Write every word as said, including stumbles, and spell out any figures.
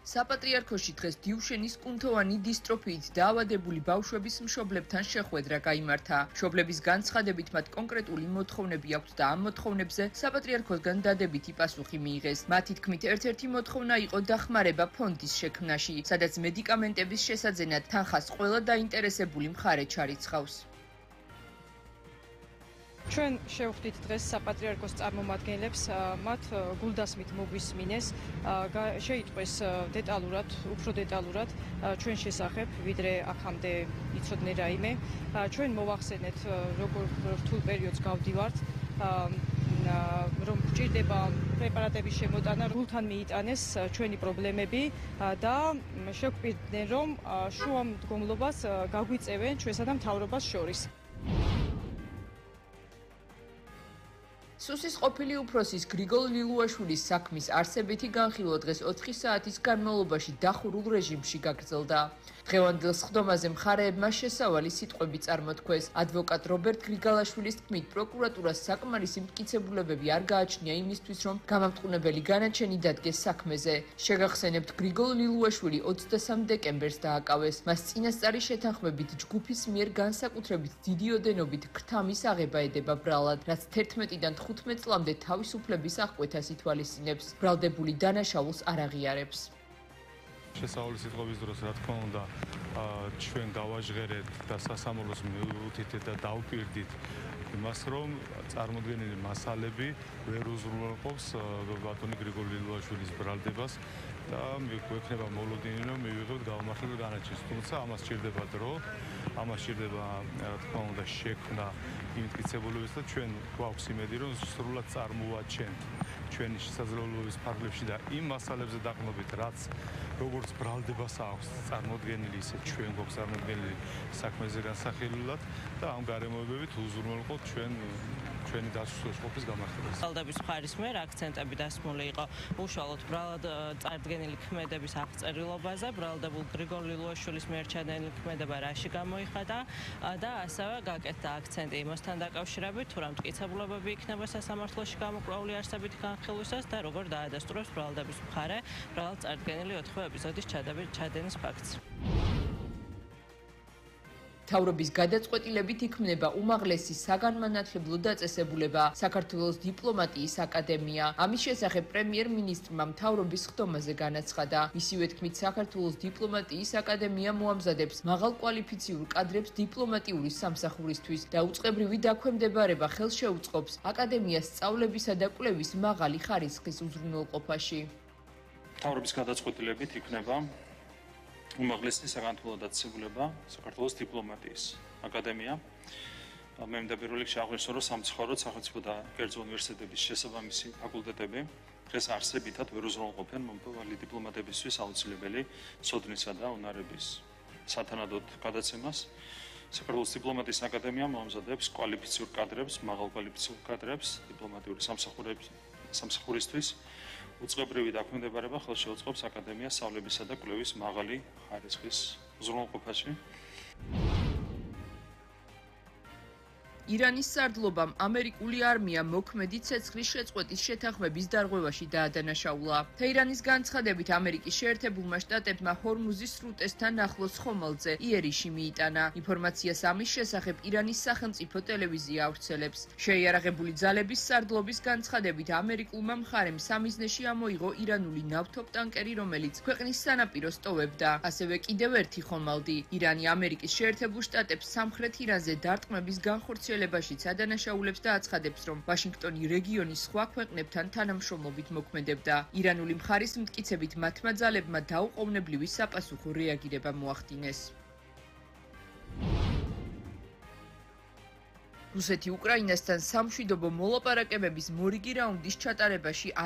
საპატრიარქოში დღეს დიუშენის კუნთოვანი დისტროფიით დაავადებული ბავშვების მშობლებთან შეხვედრა გაიმართა. მშობლების განცხადებით მათ კონკრეტული მოთხოვნები აქვთ და ამ მოთხოვნებზე საპატრიარქოსგან დადებითი პასუხი მიიღეს. მათი თქმით, ერთ-ერთი მოთხოვნა იყო დახმარება ფონდის შექმნაში, სადაც მედიკამენტების შესაძენად თანხას ყველა დაინტერესებული მხარე ჩარიცხავს. ჩვენ შევხვდით დღეს საპატრიარქოს წარმომადგენლებს, მათ გულდასმით მოგვისმინეს, შეიტყვეს დეტალურად, უფრო დეტალურად ჩვენ შესახებ, ვიდრე აქამდე იცოდნენ რაიმე. ჩვენ მოვახსენეთ, როგორ რთულ პერიოდს გავდივართ, რომ გვჭირდება პრეპარატების შემოტანა, გულთან მიიტანეს ჩვენი პრობლემები და შეგვპირდნენ, რომ შუამდგომლობას გაგვიწევენ ჩვენსა და მთავრობას შორის. სუსის ყოფილი უფროსის გრიგოლ ლილუაშვილის საქმის არსებითი განხილვა დღეს ოთხი საათის განმავლობაში დახურულ რეჟიმში გაგრძელდა. დღევანდელ სხდომაზე მხარეებმა შესავალი სიტყვები წარმოთქვეს. ადვოკატ რობერტ გრიგალაშვილის თქმით, პროკურატურას საკმარისი მტკიცებულებები არ გააჩნია იმისთვის, რომ გამამტყუნებელი განაჩენი დადგეს საქმეზე. შეგახსენებთ, გრიგოლ ლილუაშვილი ოცდასამ დეკემბერს დააკავეს. მას წინასწარი შეთანხმებით ჯგუფის მიერ განსაკუთრებით დიდი ოდენობით ქრთამის აღება ედება ბრალად, რაც თერთმეტიდან თხუთმეტ წლამდე თავისუფლების აღკვეთას ითვალისწინებს. ბრალდებული დანაშაულს არ აღიარებს. შესავალი სიტყვების დროს, რა თქმა უნდა, ჩვენ გავაჟღერეთ და სასამართლოს მივუთით და დავპირდით იმას, რომ წარმოდგენილი მასალები ვერ უზრუნველყოფს ბატონი გრიგოლ ლილუაშვილის ბრალდებას და გვექნება მოლოდინი, რომ მივიღებთ გავამართლებლად განაჩენს. თუმცა ამას სჭირდება დრო, ამას სჭირდება, რა თქმა უნდა, შექმნა იმ მტკიცებულებებს და ჩვენ გვაქვს იმედი, რომ სრულად წარმოვაჩენთ ჩვენი შესაძლებლობების ფარგლებში და იმ მასალებზე დაყრდნობით, რაც როგორც ბრალდებას აქვს წარმოდგენილი, ისე ჩვენ გვაქვს წარმოდგენილი საქმეზე განსახილველად და ამ გარემოებებით უზრუნველყოფთ ჩვენ ჩვენი დასუსტების გამართებას. ბრალდების მხარის მიერ აქცენტები დასმული იყო უშუალოდ ბრალად წარდგენილი ქმედების აღწერილობაზე, ბრალდებულ გრიგოლ ლილუაშვილის მიერ ჩადენილი ქმედება რაში გამოიხადა და ასევე გაკეთდა აქცენტი იმასთან დაკავშირებით, თუ რა მტკიცებულებები იქნება სასამართლოში გამოკვლეული არსებითი განხილვისას და როგორ დაადასტურებს ბრალდების მხარე ბრალად წარდგენილი ოთხივე ეპიზოდის ჩადენის ფაქტს. მთავრობის გადაწყვეტილებით იქმნება უმაღლესი საგანმანათლებლო დაწესებულება საქართველოს დიპლომატიის აკადემია. ამის შესახებ პრემიერ-მინისტრმა მთავრობის ხდომაზე განაცხადა. მისივე თქმით, საქართველოს დიპლომატიის აკადემია მოამზადებს მაღალკვალიფიციურ კადრებს დიპლომატიური სამსახურისთვის და უწყებრივი დაქვემდებარება ხელს შეუწყობს აკადემიას სწავლებისა და კვლევის მაღალი ხარისხის უზრუნველყოფაში. მთავრობის გადაწყვეტილებით იქნება უმაღლესი საგანმანათლებლო დაწესებულება საქართველოს დიპლომატიის აკადემია. მე მინდა პირველ რიგში აღვნიშნო, რომ სამწუხაროდ სახელმწიფო და კერძო უნივერსიტეტების შესაბამისი ფაკულტეტები დღეს არსებითად ვერ უზრუნველყოფენ მომავალი დიპლომატებისთვის აუცილებელი სოდნისა და უნარების სათანადოდ გადაცემას. საქართველოს დიპლომატიის აკადემია მოამზადებს კვალიფიციურ კადრებს, მაღალკვალიფიციურ კადრებს დიპლომატიური სამსახურისთვის. უწყებრივი დაქვემდებარება ხელს შეუწყობს აკადემიას სწავლებისა და კვლევის მაღალი ხარისხის უზრუნველყოფაში. ირანის სარდლობამ ამერიკული არმია მოქმედი ცეცხლის შეწყვეტის შეთანხმების დარღვევაში დაადანაშაულა. თეირანის განცხადებით, ამერიკის შეერთებულმა შტატებმა ჰორმუზის სრუტესთან ახლოს ხომალდზე იერიში მიიტანა. ინფორმაციას ამის შესახებ ირანის სახელმწიფო ტელევიზია ავრცელებს. შეიარაღებული ძალების სარდლობის განცხადებით, ამერიკულმა მხარემ სამიზნეში ამოიღო ირანული ნავთობტანკერი, რომელიც ქვეყნის სანაპიროს ტოვებდა. ასევე კიდევ ერთი ხომალდი. ირანი ამერიკის შეერთებულ შტატებს სამხრეთ ირანზე დარტყმების განხორციელებაში ადანაშაულებს და აცხადებს, რომ ვაშინგტონი რეგიონის სხვა ქვეყნებთან თანამშრომლობით მოქმედებდა. ირანული მხარის მტკიცებით, მათმა ძალებმა დაუყოვნებლივი საპასუხო რეაგირება მოახდინეს. რუსეთი უკრაინასთან სამშვიდობო მოლაპარაკებების მორიგი რაუნდის ჩატარებაში